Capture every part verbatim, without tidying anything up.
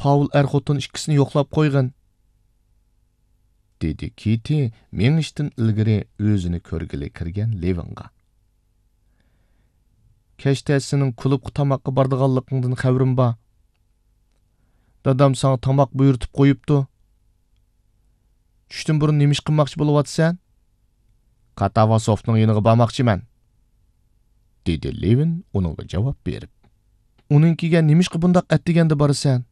پاۋل ئەر-خوتۇن ئىككىسىنى يوقلاپ قويغىن، دېدى كىتى مېڭىشتىن ئىلگىرى ئۆزىنى كۆرگىلى كىرگەن لېۋىنغا. كەچتە سېنىڭ كۇلۇبقا تاماققا بارىدىغانلىقىڭدىن خەۋىرىم بار. دادام ساڭا تاماق بۇيرۇتۇپ قويۇپتۇ. چۈشتىن بۇرۇن نېمە ئىش قىلماقچى بولۇۋاتىسەن؟ كاتاۋاسوفنىڭ يېنىغا بارماقچىمەن، دېدى لېۋىن ئۇنىڭغا جاۋاب بېرىپ. ئۇنىڭكىگە نېمىشقا بۇنداق ئەتىگەندە بارىسەن؟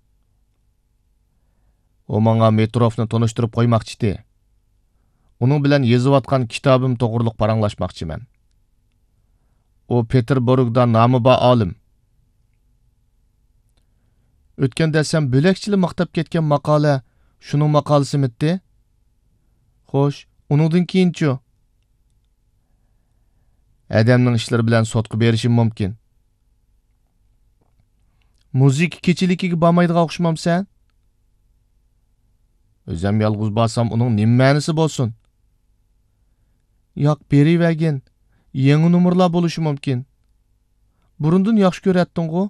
ئۇ ماڭا مېتروفنى تونۇشتۇرۇپ قويماقچىتى. ئۇنىڭ بىلەن يېزىۋاتقان كىتابىم توغرۇلۇق پاراڭلاشماقچىمەن. ئۇ پېتېربۇرگدا نامى بار ئالىم. ئۆتكەندە سەن بۆلەكچىلا ماختاپ كەتكەن ماقالە شۇنىڭ ماقالىسىمىتتى؟ خوش، ئۇنىڭدىن كېيىنچۇ؟ ئادەمنىڭ ئىشلىرى بىلەن سوتقا بېرىشىم مۇمكىن. مۇزىكا كېچىلىكىگە بارمايدىغان ئوخشىمامسەن؟ ئۆزۈم يالغۇز بارسام ئۇنىڭ نېمە مەنىسى بولسۇن؟ ياق، بېرىۋەرگىن. يېڭى نومۇرلار بولۇشى مۇمكىن. بۇرۇندىن ياخشى كۆرەتتىڭغۇ؟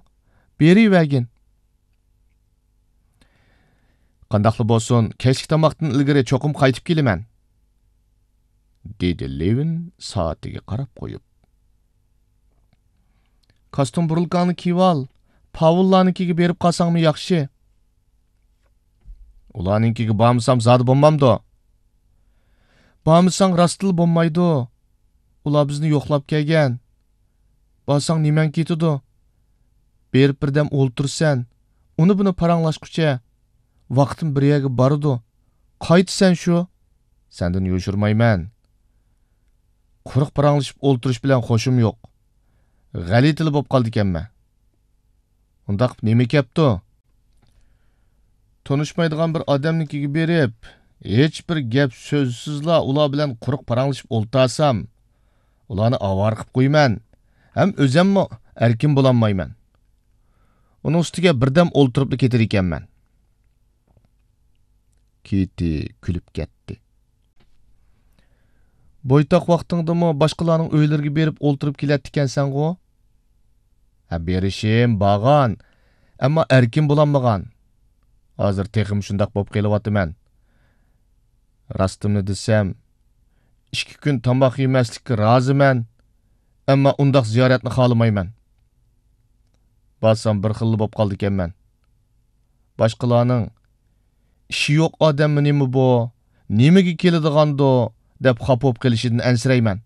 بېرىۋەرگىن. قانداقلا بولسۇن، كەچلىك تاماقتىن ئىلگىرى چوقۇم قايتىپ كېلىمەن، دېدى لېۋىن سائىتىگە قاراپ قويۇپ. كاستيۇم بۇرۇلكاڭنى كىيىۋال، پاۋۇللارنىڭكىگە بېرىپ قالساڭمۇ ياخشى. ئۇلارنىڭكىگە بارمىسام زادى بولمامدۇ؟ بارمىساڭ راستلا بولمايدۇ. ئۇلار بىزنى يوقلاپ كەلگەن. بارساڭ نېمەڭ كېتىدۇ؟ بېرىپ بىردەم ئولتۇرىسەن، ئۇنى بۇنى پاراڭلاشقۇچە ۋاقتىم بىر يەرگە بارىدۇ. قايتىسەن شۇ. سەندىن يوشۇرمايمەن. قۇرۇق پاراڭلىشىپ ئولتۇرۇش بىلەن خوشۇم يوق. غەلىتىلا بولۇپ قالدىكەنمەن. ئۇنداق نېمە كەپتۇ؟ تونۇشمايدىغان بىر ئادەمنىڭكىگە بېرىپ، ھېچ بىر گەپ سۆزسىزلا ئۇلار بىلەن قۇرۇق پاراڭلىشىپ ئولتۇرسام، ئۇلارنى ئاۋارە قىلىپ قويىمەن ھەم ئۆزەممۇ ئەركىن بولالمايمەن. ئۇنىڭ ئۈستىگە بىردەم ئولتۇرۇپلا كېتىدىكەنمەن. كىتى كۈلۈپ كەتتى. بويتاق ۋاقتىڭدىمۇ باشقىلارنىڭ ئۆيلىرىگە بېرىپ ئولتۇرۇپ كېلەتتىكەنسەنغۇ؟ ھە، بېرىشىم بارغان، ئەمما ئەركىن بولالمىغان. ھازىر تېخىمۇ شۇنداق بولۇپ قېلىۋاتىمەن. راستىمنى دېسەم، ئىككى كۈن تاماق يېمەسلىككە رازىمەن، ئەمما ئۇنداق زىيارەتنى خالىمايمەن. بارسام بىر خىللا بولۇپ قالىدىكەنمەن. باشقىلارنىڭ «ئىشى يوق ئادەممۇ نېمە بۇ؟ نېمىگە كېلىدىغاندۇ؟» دەپ خاپا بولۇپ قېلىشىدىن ئەنسىرەيمەن.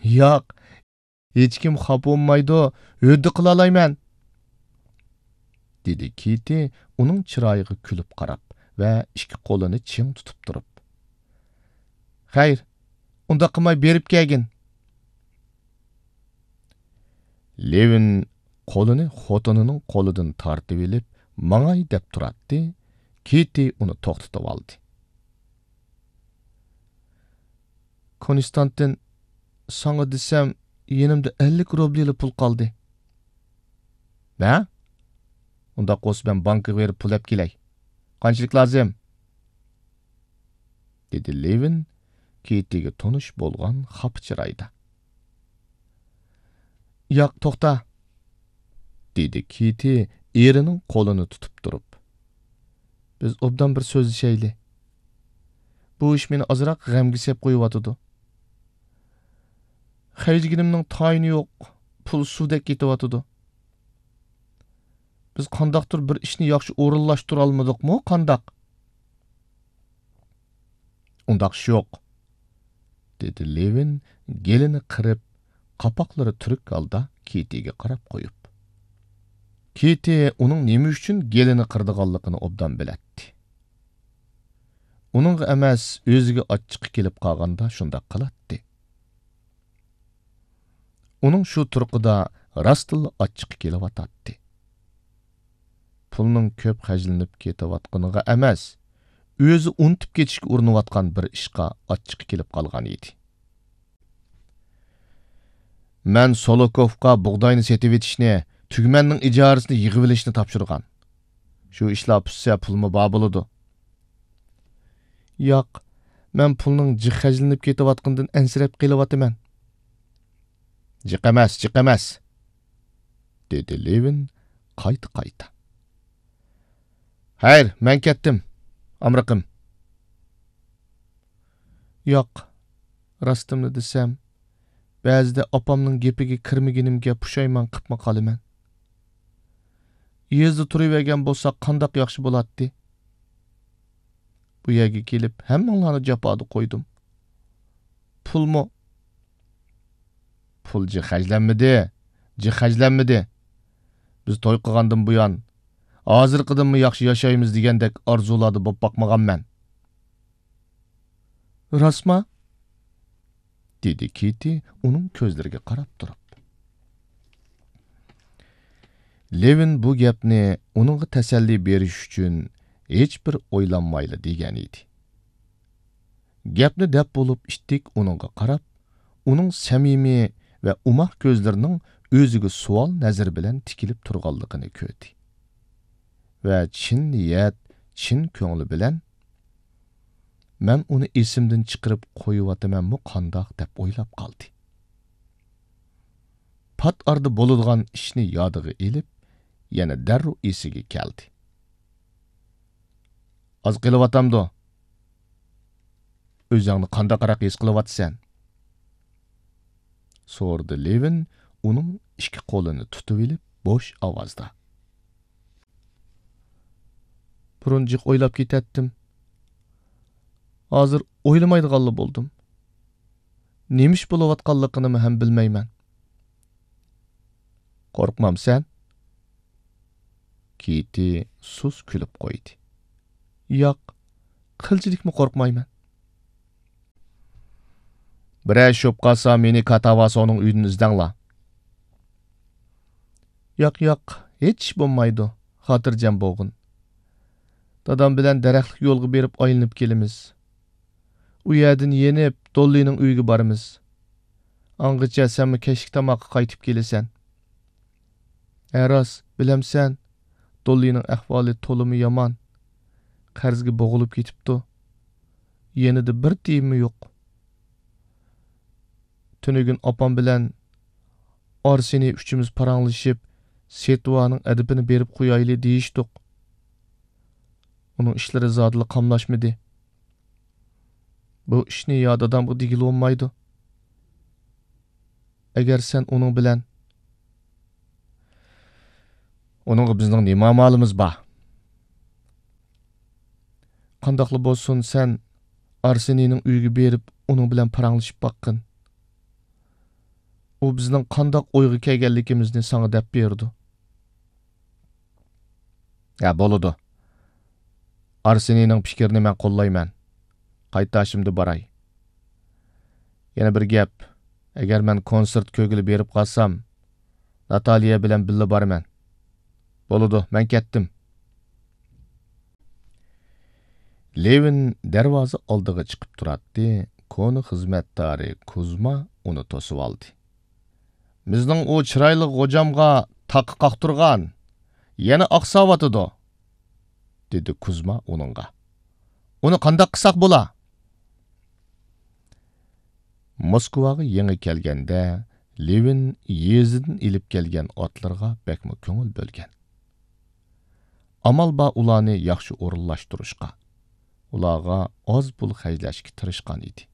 ياق، ھېچكىم خاپا بولمايدۇ، ھۆددە قىلالايمەن، دېدى كىتى ئۇنىڭ چىرايىغا كۈلۈپ قاراپ ۋە ئىككى قولىنى چىڭ تۇتۇپ تۇرۇپ. خەير، ئۇنداق قىلماي بېرىپ كەلگىن. لېۋىن قولىنى خوتۇنىنىڭ قولىدىن تارتىۋېلىپ، ماڭاي دەپ تۇراتتى، كىتى ئۇنى توختىتىۋالدى. كونستانتىن، ساڭا دېسەم، يېنىمدا ئەللىك روبلىلا پۇل قالدى. نە؟ ئۇنداق بولسا مەن بانكىغا بېرىپ پۇل ئەپ كېلەي. قانچىلىك لازىم؟ دېدى لېۋىن كىتىگە تونۇش بولغان خاپا چىرايدا. ياق، توختا، دېدى كىتى ئېرىنىڭ قولىنى تۇتۇپ تۇرۇپ. بىز ئوبدان بىر سۆزلىشەيلى. بۇ ئىش مېنى ئازراق غەمگە سېلىپ قويۇۋاتىدۇ. خەجلىگىنىمنىڭ تايىنى يوق، پۇل سۇدەك كېتىۋاتىدۇ. بىز قانداقتۇر بىر ئىشنى ياخشى ئورۇنلاشتۇرالمىدۇقمۇ، قانداق؟ ئۇنداق ئىش يوق، دېدى لېۋىن گېلىنى قىرىپ، قاپاقلىرى تۈرۈك ھالدا كىتىگە قاراپ قويۇپ. كىتى ئۇنىڭ نېمە ئۈچۈن گېلىنى قىرىدىغانلىقىنى ئوبدان بىلەتتى. ئۇنىڭغا ئەمەس، ئۆزىگە ئاچچىقى كېلىپ قالغاندا شۇنداق قىلاتتى. ئۇنىڭ شۇ تۇرقىدا راستلا ئاچچىقى كېلىۋاتاتتى. پۇلنىڭ كۆپ خەجلىنىپ كېتىۋاتقىنىغا ئەمەس، ئۆزى ئۇنتۇپ كېتىشكە ئۇرۇنۇۋاتقان بىر ئىشقا ئاچچىقى كېلىپ قالغان ئىدى. مەن سولوكوفقا بۇغداينى سېتىۋېتىشنى، تۈگمەننىڭ ئىجارىسىنى يىغىۋېلىشنى تاپشۇرغان. شۇ ئىشلار پۈتسە، پۇلمۇ بار بولىدۇ. ياق، مەن پۇلنىڭ جىق خەجلىنىپ كېتىۋاتقىنىدىن ئەنسىرەپ قېلىۋاتىمەن. جىق ئەمەس، جىق ئەمەس، دېدى لېۋىن قايتا-قايتا. خەير، مەن كەتتىم، ئامرىقىم. ياق، راستىمنى دېسەم، بەزىدە ئاپامنىڭ گېپىگە كىرمىگىنىمگە پۇشايمان قىپمۇ قالىمەن. يېزىدا تۇرۇۋەرگەن بولساق قانداق ياخشى بولاتتى. بۇ يەرگە كېلىپ ھەممىڭلارنى جاپادا قويدۇم. پۇلمۇ؟ پۇل جىق خەجلەنمىدى، جىق خەجلەنمىدى. بىز توي قىلغاندىن بۇيان، ھازىرقىدىنمۇ ياخشى ياشايمىز دېگەندەك ئارزۇلاردا بولۇپ باقمىغانمەن. راستما؟ دېدى كېتى ئۇنىڭ كۆزلىرىگە قاراپ تۇرۇپ. لېۋىن بۇ گەپنى ئۇنىڭغا تەسەللى بېرىش ئۈچۈن ھېچبىر ئويلانمايلا دېگەن ئىدى. گەپنى دەپ بولۇپ ئىتتىك ئۇنىڭغا قاراپ، ئۇنىڭ سەمىمىي ۋە ئوماق كۆزلىرىنىڭ ئۆزىگە سوئال نەزىرى بىلەن تىكىلىپ تۇرغانلىقىنى كۆردى. ۋە چىن نىيەت، چىن كۆڭلى بىلەن، مەن ئۇنى ئېسىمدىن چىقىرىپ قويۇۋاتىمەنمۇ قانداق دەپ ئويلاپ قالدى. پات ئارىدا بولىدىغان ئىشنى يادىغا ئېلىپ، يەنە دەررۇ ئېسىگە كەلدى. ئاز قېلىۋاتامدۇ؟ ئۆزۈڭنى قانداقراق ھېس قىلىۋاتىسەن؟ سورىدى لېۋىن ئۇنىڭ ئىككى قولىنى تۇتۇۋېلىپ بوش ئاۋازدا. بۇرۇن جىق ئويلاپ كېتەتتىم. ھازىر ئويلىمايدىغانلا بولدۇم. نېمە ئىش بولۇۋاتقانلىقىنىمۇ ھەم بىلمەيمەن. قورقمامسەن؟ كېتى سۇس كۈلۈپ قويدى. ياق، قىلچىلىكمۇ قورقمايمەن. بىرەر ئىش بولۇپ قالسا، مېنى كاتاۋاسونىڭ ئۆيىدىن ئىزدەڭلار. ياق، ياق، ھېچ ئىش بولمايدۇ، خاتىرجەم بولغىن. دادام بىلەن دەرەخلىك يولغا بېرىپ ئايلىنىپ كېلىمىز. ئۇ يەردىن يېنىپ، دوللىنىڭ ئۆيىگە بارىمىز. ئاڭغىچە سەنمۇ كەچلىك تاماققا قايتىپ كېلىسەن. ھە راست، بىلەمسەن، دوللىنىڭ ئەھۋالى تولىمۇ يامان. قەرزگە بوغۇلۇپ كېتىپتۇ. يېنىدا بىر تىيىنمۇ يوق. تۈنۈگۈن ئاپام بىلەن ئارسېنى ئۈچىمىز پاراڭلىشىپ، سېتىۋانىڭ ئەدىپىنى بېرىپ قويايلى دېيىشتۇق. ئۇنىڭ ئىشلىرى زادىلا قاملاشمىدى. بۇ ئىشنى يا دادامغا دېگىلى بولمايدۇ. ئەگەر سەن ئۇنىڭ بىلەن. ئۇنىڭغا بىزنىڭ نېمە ئامالىمىز بار؟ قانداقلا بولسۇن، سەن ئارسېنىنىڭ ئۆيىگە بېرىپ، ئۇنىڭ بىلەن پاراڭلىشىپ باققىن. ئۇ بىزنىڭ قانداق ئويغا كەلگەنلىكىمىزنى ساڭا دەپ بېرىدۇ. ھە، بولىدۇ. ئارسېنىنىڭ پىكرىنى مەن قوللايمەن. قايتاشىمدا باراي. يەنە بىر گەپ، ئەگەر مەن كونسېرت كۆرگىلى بېرىپ قالسام، ناتالىيە بىلەن بىللە بارىمەن. بولىدۇ، مەن كەتتىم. لېۋىن دەرۋازا ئالدىغا چىقىپ تۇراتتى، كونا خىزمەتدارى كۇزما ئۇنى توسۇۋالدى. بىزنىڭ ئۇ چىرايلىق غوجامغا تاقا قاقتۇرغان، يەنە ئاقساۋاتىدۇ، دېدى كۇزما ئۇنىڭغا. ئۇنى قانداق قىلساق بولا؟ موسكۋاغا يېڭى كەلگەندە، لېۋىن يېزىدىن ئېلىپ كەلگەن ئاتلىرىغا بەكمۇ كۆڭۈل بۆلگەن. ئامال بار ئۇلارنى ياخشى ئورۇنلاشتۇرۇشقا، ئۇلارغا ئاز پۇل خەجلەشكە تىرىشقان ئىدى.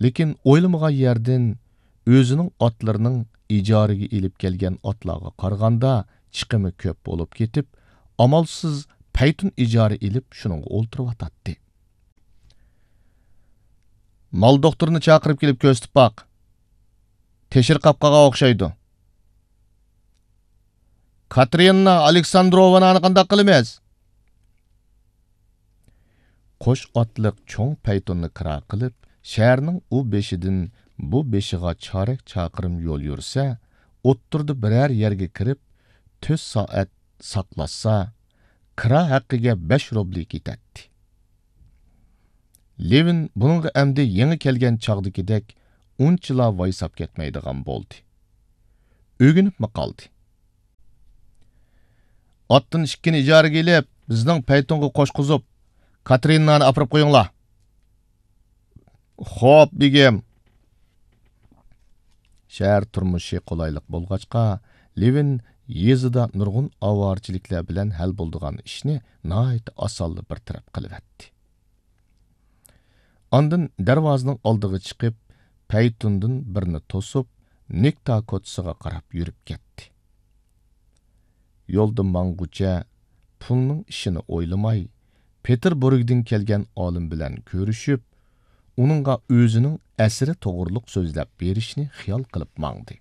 لېكىن ئويلىمىغان يەردىن ئۆزىنىڭ ئاتلىرىنىڭ ئىجارىگە ئېلىپ كەلگەن ئاتلارغا قارىغاندا چىقىمى كۆپ بولۇپ كېتىپ، ئامالسىز پەيتۇن ئىجارە ئېلىپ شۇنىڭغا ئولتۇرۇۋاتاتتى. مال دوختۇرىنى چاقىرىپ كېلىپ كۆرسىتىپ باق. تېشىرقاپ قالغان ئوخشايدۇ. كاتېرىنا ئالېكساندروۋنانى قانداق قىلىمىز؟ قوش ئاتلىق چوڭ پەيتۇننى كىرا قىلىپ، شەھەرنىڭ ئۇ بېشىدىن بۇ بېشىغا چارەك چاقىرىم يول يۈرسە، ئوتتۇرىدا بىرەر يەرگە كىرىپ، تۆت سائەت ساقلاشسا، كىرا ھەققىگە بەش روبلى كېتەتتى. لېۋىن بۇنىڭغا ئەمدى يېڭى كەلگەن چاغدىكىدەك ئۇنچىلا ۋايساپ كەتمەيدىغان بولدى. ئۆگىنىپمۇ قالدى. ئاتتىن ئىككىنى ئىجارىگە ئېلىپ، بىزنىڭ پەيتۇنغا قوشقۇزۇپ، كاتېرىنانى ئاپىرىپ قويۇڭلار. خوپ، بېگىم. شەھەر تۇرمۇشى قولايلىق بولغاچقا، لېۋىن يېزىدا نۇرغۇن ئاۋارىچىلىكلەر بىلەن ھەل بولىدىغان ئىشنى ناھايىتى ئاسانلا بىر تەرەپ قىلىۋەتتى. ئاندىن دەرۋازىنىڭ ئالدىغا چىقىپ، پەيتۇندىن بىرنى توسۇپ، نېكتا كوچىسىغا قاراپ يۈرۈپ كەتتى. يولدا ماڭغۇچە پۇلنىڭ ئىشىنى ئويلىماي، پېتېربۇرگدىن كەلگەن ئالىم بىلەن كۆرۈشۈپ، ئۇنىڭغا ئۆزىنىڭ ئەسىرى توغرۇلۇق سۆزلەپ بېرىشنى خىيال قىلىپ ماڭدى.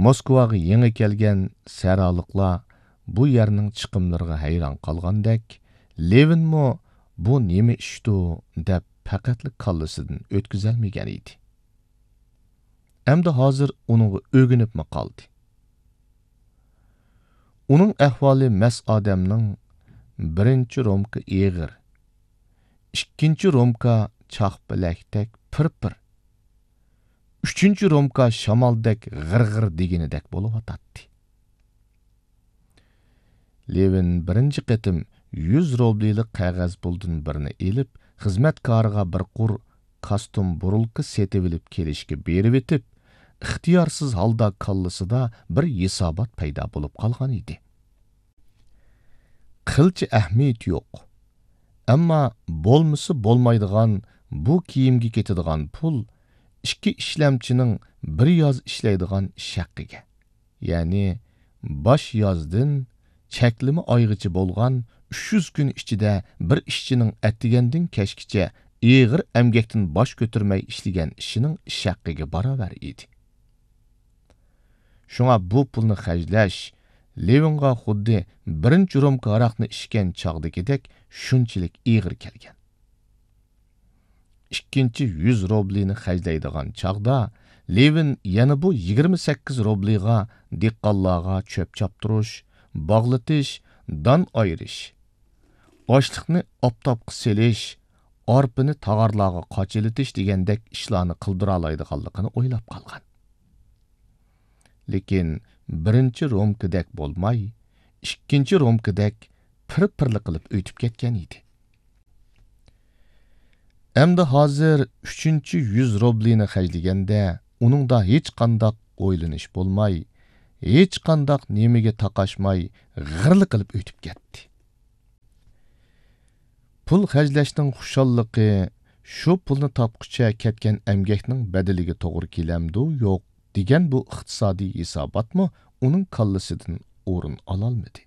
موسكۋاغا يېڭى كەلگەن سەھرالىقلار بۇ يەرنىڭ چىقىملىرىغا ھەيران قالغاندەك، لېۋىنمۇ «بۇ نېمە ئىشتۇ؟» دەپ پەقەتلا كاللىسىدىن ئۆتكۈزەلمىگەن ئىدى. ئەمدى ھازىر ئۇنىڭغا ئۆگىنىپمۇ قالدى. ئۇنىڭ ئەھۋالى مەس ئادەمنىڭ: بىرىنچى رومكا ئېغىر، ئىككىنچى رومكا چاقپەلەكتەك پىر-پىر، ئۈچىنچى رومكا شامالدەك غىر-غىر دېگىنىدەك بولۇۋاتاتتى. لېۋىن بىرىنچى قېتىم يۈز روبلىلىق قەغەز پۇلدىن بىرنى ئېلىپ، خىزمەتكارىغا بىر قۇر كاستۇم بۇرۇلكا سېتىۋېلىپ كېلىشكە بېرىۋېتىپ، ئىختىيارسىز ھالدا كاللىسىدا بىر ھېسابات پەيدا بولۇپ قالغان ئىدى. قىلچە ئەھمىيىتى يوق. ئەمما بولمىسا بولمايدىغان بۇ كىيىمگە كېتىدىغان پۇل ئىككى ئىشلەمچىنىڭ بىر ياز ئىشلەيدىغان ئىش ھەققىگە، يەنى باش يازدىن چەكلىمە ئايغىچە بولغان ئۈچ يۈز كۈن ئىچىدە بىر ئىشچىنىڭ ئەتىگەندىن كەچكىچە ئېغىر ئەمگەكتىن باش كۆتۈرمەي ئىشلىگەن ئىشىنىڭ ئىش ھەققىگە باراۋەر ئىدى. شۇڭا بۇ پۇلنى خەجلەش لېۋىنغا خۇددى بىرىنچى رومكا ھاراقنى ئىچكەن چاغدىكىدەك شۇنچىلىك ئېغىر كەلگەن. ئىككىنچى يۈز روبلىنى خەجلەيدىغان چاغدا، لېۋىن يەنە بۇ يىگىرمە سەككىز روبلىغا دېھقانلارغا چۆپ چاپتۇرۇش، باغلىتىش، دان ئايرىش، ئاشلىقنى ئاپتاپقا سېلىش، ئارپىنى تاغارلارغا قاچىلىتىش دېگەندەك ئىشلارنى قىلدۇرالايدىغانلىقىنى ئويلاپ قالغان. لېكىن بىرىنچى رومكىدەك بولماي، ئىككىنچى رومكىدەك پىر-پىرلا قىلىپ ئۆتۈپ كەتكەن ئىدى. ئەمدى ھازىر ئۈچىنچى يۈز روبلىنى خەجلىگەندە، ئۇنىڭدا ھېچقانداق ئويلىنىش بولماي، ھېچقانداق نېمىگە تاقاشماي، غىرلا قىلىپ ئۆتۈپ كەتتى. پۇل خەجلەشنىڭ خۇشاللىقى شۇ پۇلنى تاپقۇچە كەتكەن ئەمگەكنىڭ بەدىلىگە توغرا كېلەمدۇ، يوق دېگەن بۇ ئىقتىسادىي ھېساباتمۇ ئۇنىڭ كاللىسىدىن ئورۇن ئالالمىدى.